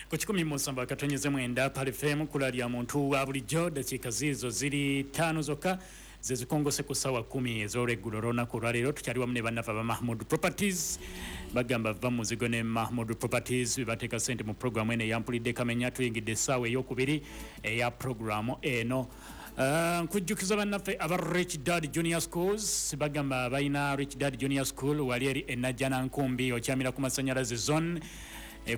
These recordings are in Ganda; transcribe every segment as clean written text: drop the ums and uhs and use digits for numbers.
Ku 107.9 Pearl FM, kula lya muntu wa bulijjo. Dakiika ziizo ziri 5 zokka zezikongose ku ssaawa 10 ez'olweggulo olw'olunaku olwaleero. Tukyali wamu ne bannaffe aba Mahmud Properties. Bagamba va muzigo ne Mahmud Properties, bebateeka ssente mu puroguramu eno eyampulidde kamenya. Tuyingidde essaawa eyokubiri eya puroguramu eno. Nkujjukiza bannaffe aba Rich Dad Junior Schools, bagamba balina Rich Dad Junior School wali eri enajjana nkumbi, okyamira ku masanyalaze zone,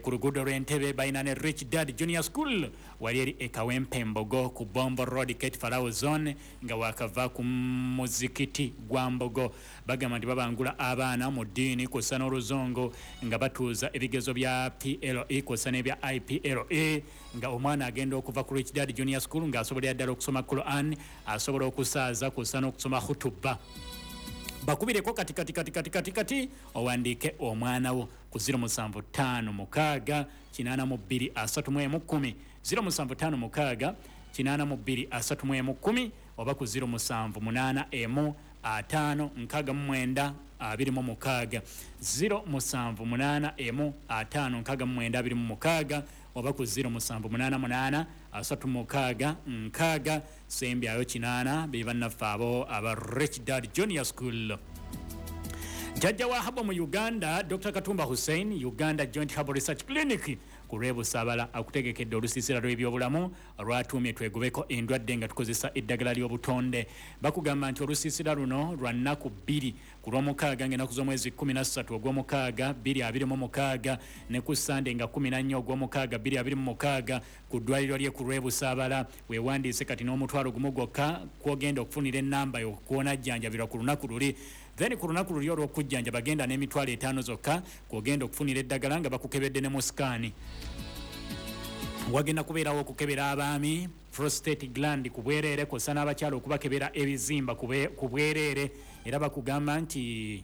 ku luguudo lw'Entebe. Balina ne Rich Dad Junior School wali eri Ekawempe Mbogo ku Bombo Road, Kate Farao zone, nga wakava ku muzikiti gwa Mbogo. Bagamba nti babangula abaana mu ddiini kw'ossa n'oluzungu, nga batuuza ebigezo bya PLE kw'ossa n'ebya IPLE, nga omwana agenda okuva ku Rich Dad Junior School ng'asobolera ddala okusoma Quran, asobola okusaaza kw'ossa n'okusoma khutuba. Bakubireko kati kati kati kati kati kati owandiike omwana wo ku 0756 82 31 10, 0756 82 31 10, oba ku 0781 5 69 26, 0781 5 69 26, oba ku 0788 36 6 sembyayo 8. Be bannaffe abo aba Rich Dad Junior School. Jjajja wa herbal mu Uganda, Dr Katumba Hussein, Uganda Joint Herbal Research Clinic ku lw'Ebusabala, akutegekedde olusiisira lw'ebyobulamu lwatuumye "Twegobeko endwadde nga tukozesa eddagala ly'obutonde". Bakugamba nti olusiisira luno lwa nnaku 2, ku Lwomukaaga ng'ennaku z'omwezi 13 ogw'omukaaga 2026 ne ku Sande nga 14 ogw'omukaaga 2026 ku ddwaliro lye ku lw'Ebusaabala. Weewandiise kati n'10 000 gwokka kwogenda okufunira ennamba yokwonajjanjabirwa ku lunaku luli. Then ku lunaku luli olw'okujjanja bagenda n'50 000 zokka kwogenda okufunira eddagala nga bakukebedde ne mu scan. Wagenda kubeerawo okukebera abaami prostate gland ku bwereere, kw'ossa n'abakyala okubakebera ebizimba ku bwereere. Era bakugamba nti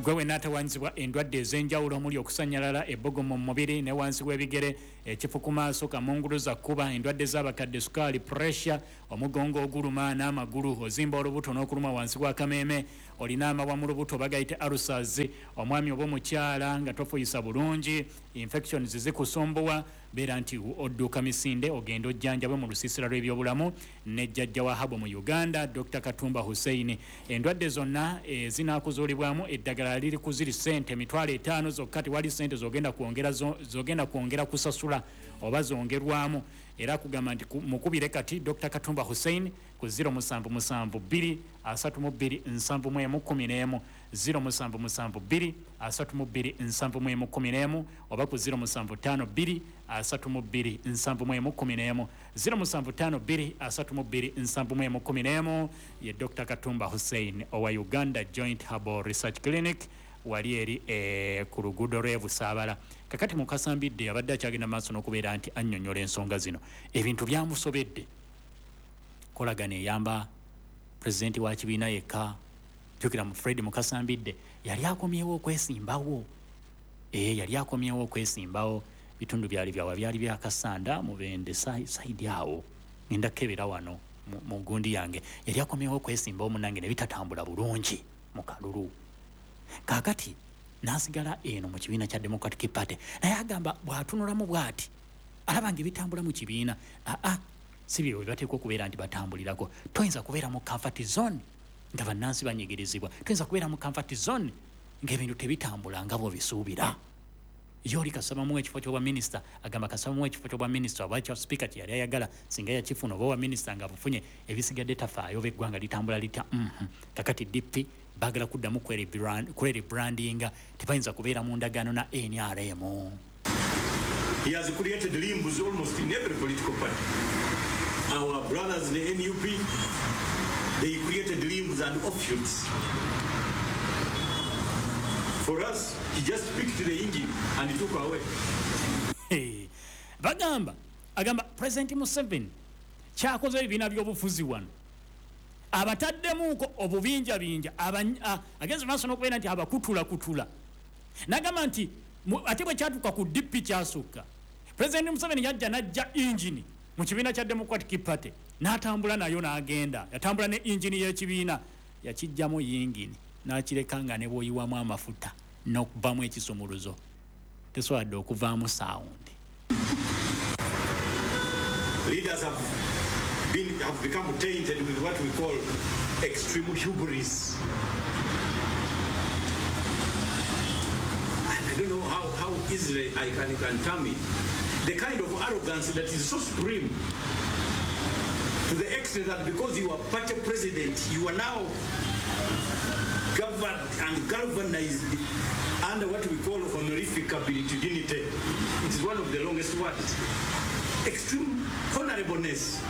gwe wenna atawanyizibwa endwadde ez'enjawulo omuli okusanyalala, ebbugumu mu mubiri ne wansi w'ebigere, ekifu ku maaso, kamunguluza kkuba, endwadde z'abakadde, sukaali, pressure, omugongo oguluma n'amagulu, ozimba olubuto n'okuluma wansi w'akameeme, olina amabwa mu lubuto bagayite ulcers, omwami oba omukyala nga tofuyisa bulungi, infections zikusumbuwa, beera nti odduuka misinde ogenda ojjanjabwe mu lusiisira lw'ebyobulamu ne jjajja wa herbal mu Uganda, Dr Katumba Hussein. Endwadde zonna ezinaakuzuulibwamu, eddagala liri ku ziri sente 50 000 zokka. Tewali sente zogenda kwongera, zogenda kwongera kusasula oba zongerwamu. Era akugamba nti mukubire kati Dr Katumba Hussein ku 0772 32 71 11, 0772 32 71 11, oba ku 0752 32 71 11, 0752 32 71 11. Ye Dr Katumba Hussein owa Uganda Joint Herbal Research Clinic wali eri ku luguudo lw'Ebusaabala. Kakati Mukasambidde abadde akyagenda maaso n'okubeera nti annyonnyola ensonga zino. Ebintu byamusobedde. Kolagana eyamba pulezidenti wa kibiina yekka. Jjukira mu Fred Mukasambidde yali akomyewo okwesimbawo, yali akomyewo okwesimbawo. Bitundu byali byawa? Byali byakasanda Mubende side awo. Ngenda kukebera wano mu gundi yange. Yali akomyewo okwesimbawo munange, ne bitatambula bulungi mu kalulu. Kaakati n'asigala eno mu kibiina kya Democratic Party, naye agamba bw'atunulamu bw'ati alaba nga ebitambula mu kibiina aa si bye bateekwa okubeera nti batambulirako. Toyinza kubeera mu comfort zone nga bannansi banyigirizibwa. Toyinza kubeera mu comfort zone ng'ebintu tebitambula nga bw'obisuubira. Ye oli kasabamu ekifo ky'obwa minisita, agamba kasabamu ekifo ky'obwa minisita oba kya sipiika kye yali ayagala, singa yakifuna oba obwa minisita nga bufunye, ebisigadde tafaayo oba eggwanga litambula litya. Kakati DP baagala kuddamu kwerebrandinga, tebayinza kubeera mu ndagaano na NRM. He has created limbs almost in every political party. Our brothers in the NUP, they created limbs and offshoots. For us, he just picked the engine and he took away. Hey, bagamba agamba President Museveni kyakoze ebibiina by'obufuzi wano abataddemuuko obubinjabinja, agenze maaso n'okubeera nti abakutulakutula. Nagamba nti ate bwe kyatuuka ku DP kyasukka. President Museveni yajja najja engine mu kibiina kya Democratic Party n'atambula nayo n'agenda. Yatambula ne engine y'ekibiina, yakijjamu yingini n'akireka nga ne bw'oyiwamu amafuta n'okuvamu ekisumuluzo tesoboladde okuvaamu sound. Leaders have become tainted with what we call extreme hubris. And I don't know how easily I can term it. The kind of arrogance that is so supreme, to the extent that because you are party president, you are now governed and galvanized under what we call honorific ability. It is one of the longest words. Extreme honorableness.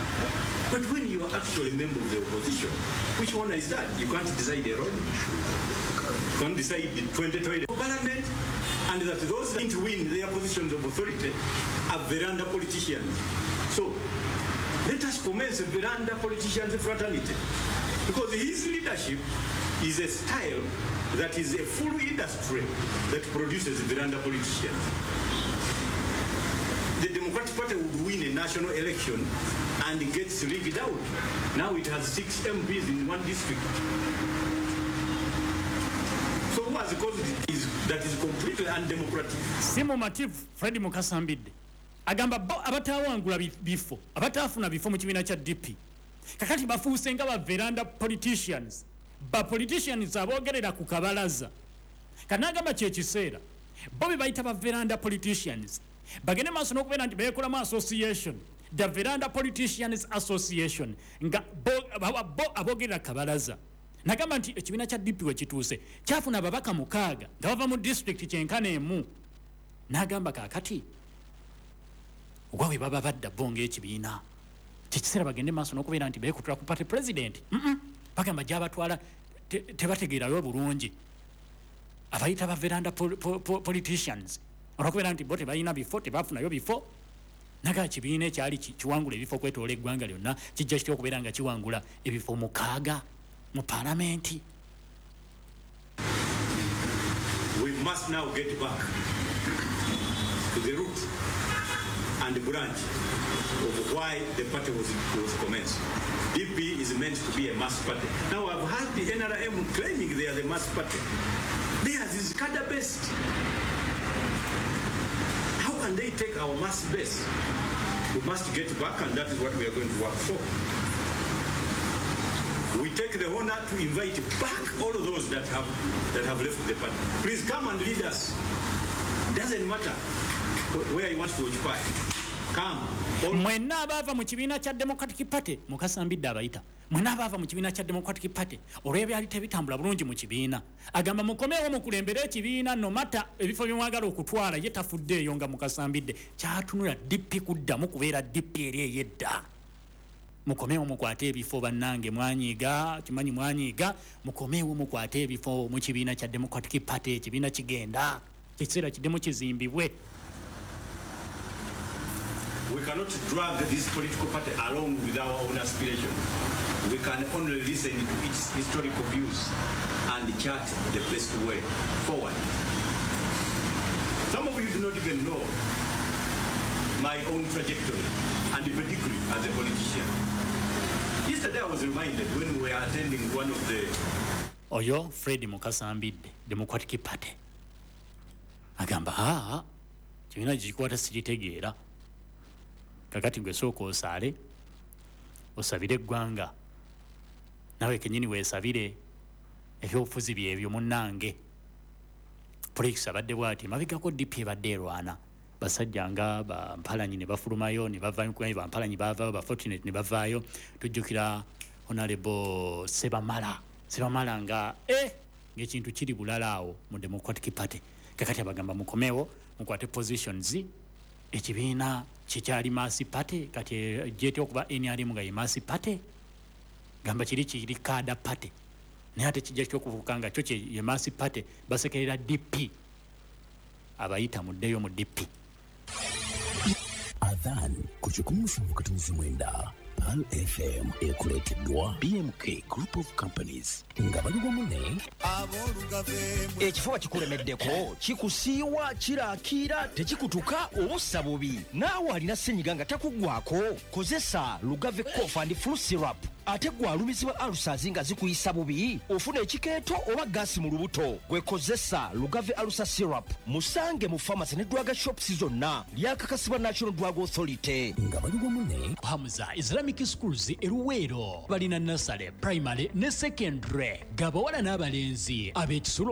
But when you are actually a member of the opposition, which honor is that? You can't decide a role. You can't decide the 2020 parliament, and that those that win their positions of authority are veranda politicians. So let us commence a veranda politicians fraternity, because his leadership is a style that is a full industry that produces veranda politicians. The Democratic Party would win a national election and gets rigged out. Now it has 6 MPs in one district. So who has caused it is that is completely undemocratic. Simo Mativ Fred Mukasa Mbidde agamba bo abatawangula bifo, abatafuna bifo mu kibiina kya DP kakati bafuuse nga ba veranda politicians, ba politicians aboogerera ku kabalaza. Kanagamba kye kiseera bo be bayita ba veranda politicians bagende maaso n'okubeera nti beekolamu association, the Veranda Politicians Association, nga bo aboogerera kabalaza. Nagamba nti ekibiina kya DP we kituuse kyafuna ababaka 6 nga bava mu district kyenkana emu. Nagamba kaakati ogwa baba badda bo ng'ekibiina kyekiseera bagende maaso n'okubeera nti beekutula ku party president. Bagamba gy'abatwala tebategeerayo bulungi, abayita ba veranda politicians olw'okubeera nti bo tebalina bifo, tebafunayo bifo. Naga ekibiina ekyali kiwangula ebifo okwetoola eggwanga lyonna kijja kitya okubeera nga kiwangula ebifo 6 mu paalamenti. We must now get back to the root and the branch of why the party was commenced. DP is meant to be a mass party. Now I've heard the NRM claiming they are the mass party. Theirs is cadre-based. How can they take our mass base? We must get back, and that is what we are going to work for. We take the honor to invite back all of those that have left the party. Please come and lead us. Doesn't matter where you want to occupy. Come. Mwenna abaava mu kibiina kya Democratic Party, Mukasa Mbidde abayita. Mwenna abaava mu kibiina kya Democratic Party olw'ebyali tebitambula bulungi mu kibiina, agamba mukomeewo mukulembere ekibiina no matter ebifo bye mwagala okutwala. Ye tafuddeeyo nga Mukasa Mbidde kyatunula DP kuddamu kubeera DP eri ey'edda. Mukomeewo mukwate ebifo bannange, mwanyiiga kimanyi mwanyiiga, mukomeewo mukwate ebifo mu kibiina kya Democratic Party. Ekibiina kigenda ekiseera kiddemu kizimbibwe. We cannot drag this political party along with our own aspirations. We can only listen to its historical views and chart the best way forward. Some of you do not even know my own trajectory and pedigree as a politician. Yesterday I was reminded when we were attending one of the... Oyo Fred Mukasa Mbidde, Democratic Party. Agamba, haa, kibiina kikwata sikitegeera. Kakati gwe sooka osaale, osabire eggwanga, nawe kennyini weesabire ebyobufuzi byebyo munnange. Politics abadde bw'ati, mabegako DP ebadde erwana, basajja nga ba Mpalanyi ne bafulumayo ne bavaayo, ba Mpalanyi baavaayo, ba Fortunate ne bavaayo. Tujjukira Honorable Sebamala, Sebamala nga ng'ekintu kiri bulala awo mu Democratic Party. Kakati abagamba mukomewo mukwate positions. Ekibiina kikyali mass party, kati jeti okuba NRM nga ye mass party, gamba kiri kiri cadre party, naye ate kijja kyokuvuka nga kyo ye mass party. Basekerera DP, abayita muddeyo mu DP. Adhan ku 179 Pearl FM ekuleeteddwa BMK Group of Companies nga bali wamu ne Ekifuba kikulemeddeko, kikusiiwa, kirakiira, tekikutuka obussa bubi. Naawe alina ssenyiga nga takuggwako, kozesa Lugave Cough and Flu Syrup. Ate gwe alumizibwa ulcers nga zikuyisa bubi, ofuna ekikeeto oba gaasi mu lubuto, gwe kozesa Lugave Ulcer Syrup. Musange mu pharmacy ne drug shops zonna. Lyakakasibwa National Drug Authority. Nga bali wamu ne Hamza Islamic Schools e Luweero, balina nursery, primary ne secondary, gabawala n'abalenzi ab'ekisulo.